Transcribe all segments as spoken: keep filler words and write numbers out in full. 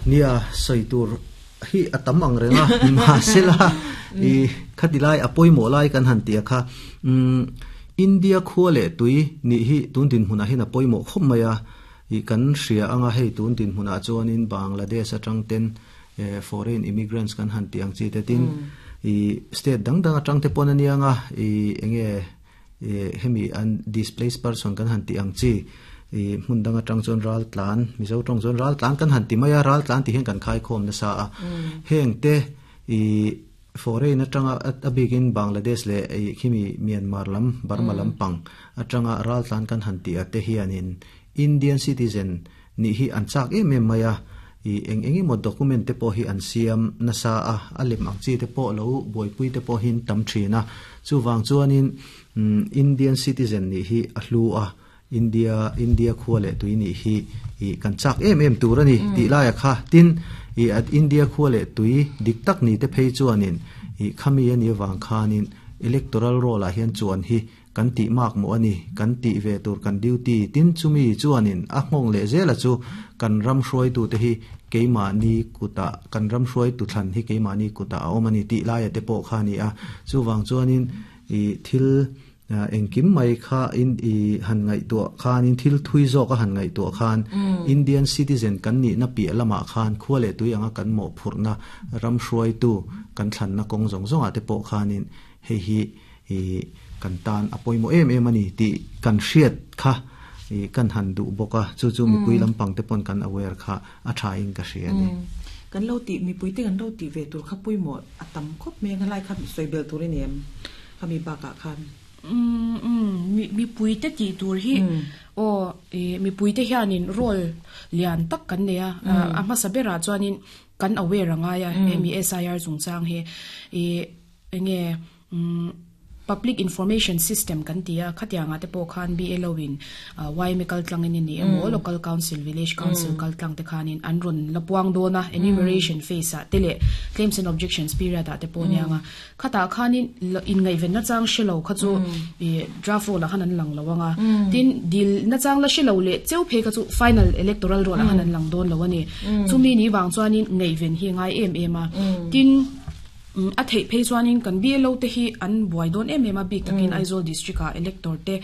Nia, soi tur hi atam ang renga ma sela i khatilai apoimo lai kan han tia kha. um India khuale tui ni hi tun din hmuna hin apoimo khop maya i kan hria anga hei tun din hmuna chuanin Bangladesh atang ten foreign immigrants kan han tiang chi te tin i state dang dang atang te pon anianga i enge hemi an displaced person kan han tiang chi i hmun dang atang chuan ral tlan mizo tong chuan ral tlan kan han ti maya ral tlan ti hian kan khai khom na sa a heng te i foreign atanga abikin Bangladesh le khimi Myanmar lam Burma lam pang atanga ral tlan kan han ti ate hianin Indian citizen ni hi an chak em em maya i eng engi mo document te po hi an siam na sa a alem ang chi te po lo boipui te po hin tam thina chuwang chuanin Indian citizen ni hi a hlu a India India khuale tui ni hi i kan chak em em tur ani ti lai kha tin i at India khuale tui dik tak ni te phei chuanin i khami ani wang khanin electoral roll a hian chuan hi kan ti mak mo ani kan ti ve tur kan duty tin chumi chuanin a hmong le zela chu kan ram hruai tu te hi keima ni kuta kan ram hruai tu thlan hi keima ni kuta a omani ti lai te po khani a chuwang chuanin i thil engkim mai kha in i han ngai tu khan in thil thui zo ka han ngai tu khan Indian citizen kan ni na pi lama khan khuale tu anga kan mo phurna ram hruai tu kan thlan na kong zong zong ate po khanin hei hi i kan tan apoimo em em ani ti kan hriat kha i kan han du boka chu chu mi pui lampang te pon kan aware kha a tha in ka hria ni kan lo ti mi pui te kan lo ti ve tur kha pui mo atam khop me kan lai kha soibel tur ni em khami ba ka khan um um mi mi pui te ti tur hi o e mi pui te hianin role lian tak kan ne a a ma sabera chuanin kan aware anga ya M S I R chungchang he e enge public information system kan tia khatianga te po khan B L O in Y M kal tlang in ni emo local council village council kal tlang te khanin an ron lapuang dona enumeration phase a tele claims and objections period a te po nianga khata khanin in ngai ven na chang shelo kha chu e draft roll a khan an lang lawanga tin dil na chang la shelo le cheu phe kha chu final electoral roll a khan an lang don lawani chumi ni wang chuanin ngai ven hi ngai em em a tin a thei phei chuanin kan B L O te hi an buai don em em a bik takin Aizawl district a elector te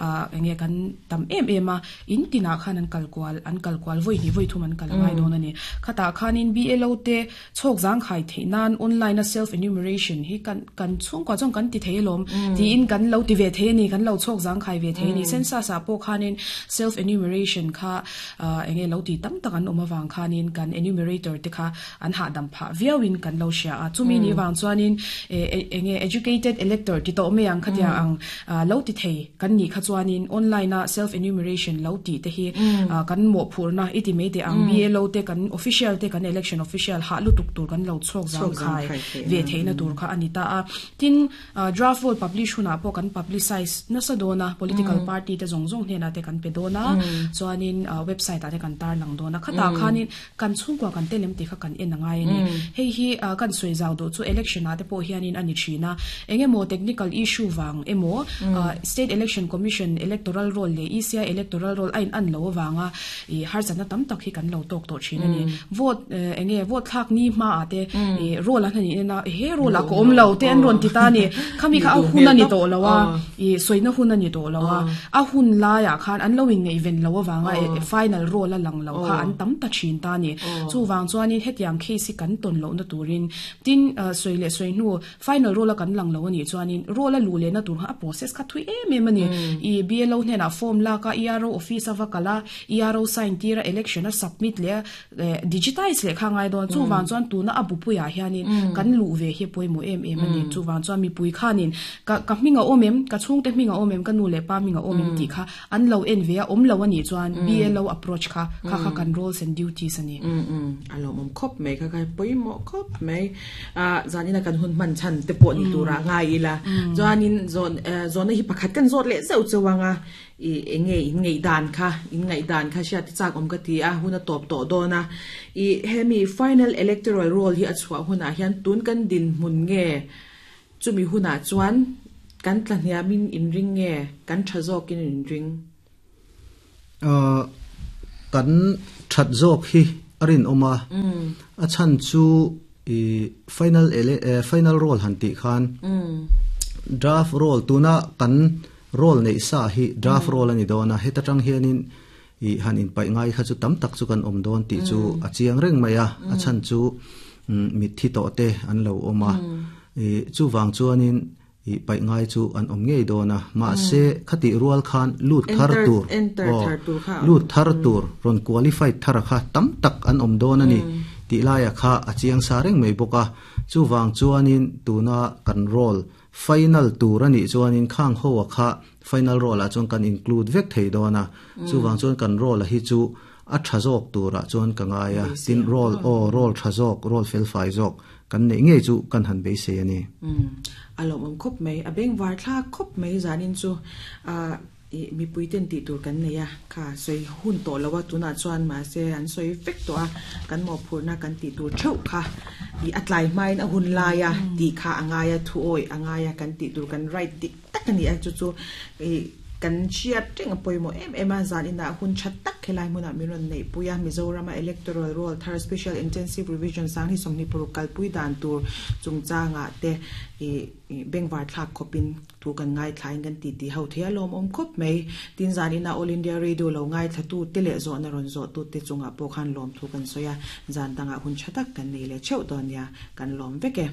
a enge kan tam em em a in tina khan an kalkwal an kalkwal voi ni voi thum an kalangai don ani khata khanin B L O te chok jang khai theinan online a self enumeration hi kan kan chung kwa chong kan ti theilom ti in kan lo ti ve the ni kan lo chok jang khai ve the ni census a po khanin self enumeration kha enge lo ti tam tak an oma wang khanin kan enumerator te kha an ha dam pha viawin kan lo sha a chumi ni wang chuanin enge educated elector ti to me ang khatia ang lo ti thei kan ni kha chuanin online a self enumeration lo ti te hi kan mo phurna iti me te ang B L O te kan official te kan election official ha lu tuk tur kan lo chok jang khai ve theina tur kha anita a tin draft roll publish huna po kan publicize na sa dona political party te zong zong hena te kan pe dona chuanin website ate kan tar lang dona khata khanin kan chungkwa kan telem te kha kan en angai ani hei hi kan soi zaw do chu election ate po hianin ani thina engemo technical issue wang emo state election commission electoral roll le E C I electoral roll ain an lo wanga i harzana tam tak hi kan lo tok to thina ni vote enge vote thak ni ma ate roll an ni na he roll a ko om lo te an ron ti ta ni khami kha a hun ani to lowa i soina hun ani to lowa a hun la ya khan an lo in nge event lo wanga final roll a lang lo kha an tam ta thin ta ni chu wang chuanin hetiang case kan ton lo na turin tin soi le soi nu final roll a kan lang lo ani chuanin roll a lu le na tur a process kha thui em em ani i B L O hne na form la ka E R O office awa kala E R O sign tira election a submit le digitize le khangai don chu wang chuan tu na abu puya hianin kan lu ve he poimo em em ani chu wang chuan mi pui khanin ka ka minga omem ka chungte minga omem ka nu le pa minga omem ti kha an lo en ve a om lo ani chuan B L O approach kha kha kha kan roles and duties ani um um alo mom khop me kha kai poimo khop me a zanina kan hun man chan te po ni tura ngai ila zanin zon zon hi pakhat kan zot le zeu chewanga i enge in ngei dan kha in ngei dan kha sha ti chak om ka ti a huna top to dona i hemi final electoral roll hi achwa huna hian tun kan din mun nge chumi huna chuan kan tlahniamin in ring nge kan thazok in in ring a kan that zok hi Arin oma a chan chu i final ele final roll han ti khan draft roll tuna kan roll nei sa hi draft roll ani dona heta tang hianin i han in pai ngai kha chu tam tak chu kan om don ti chu a chiang reng maya a chan chu mi thi to te an lo oma i chu wang chuanin i pai ngai chu an om ngei dona ma se khati rual khan lut thar tur lut thar tur ron qualify thar kha tam tak an om don ani ti laia kha a chiang sa reng mai boka chu wang chuanin tuna kan roll final tur ani chuanin khang ho kha final roll a chuan kan include vek thei dona chu wang chuan kan roll a hi chu a thazok tura chuan ka ngaia tin roll o roll thazok roll fel fai jok kan nei ngei chu kan han be se ani alom om khop mai abeng war thla khop mai zanin chu a mi puiten ti tur kan neya kha soi hun to lawa tuna chuan ma se an soi vek to a kan mo phurna kan ti tur theu kha i atlai main a hun laia ti kha angaya thu oi angaya kan ti tur kan right dik tak ani a chu chu i kan chiat teng poimo em em a zan ina hun chat tak khelai muna miron nei puya Mizoram electoral roll thar special intensive revision sang hi somni purukal pui dan tur chungcha nga te i bengwar thlak khopin tu kan ngai thlain kan ti ti ho thia lom om khop mai tin zan ina All India Radio lo ngai thatu tele zo na ron zo tu te chunga po khan lom thu kan soya zan tanga hun chatak kan nei le cheu donia kan lom veke.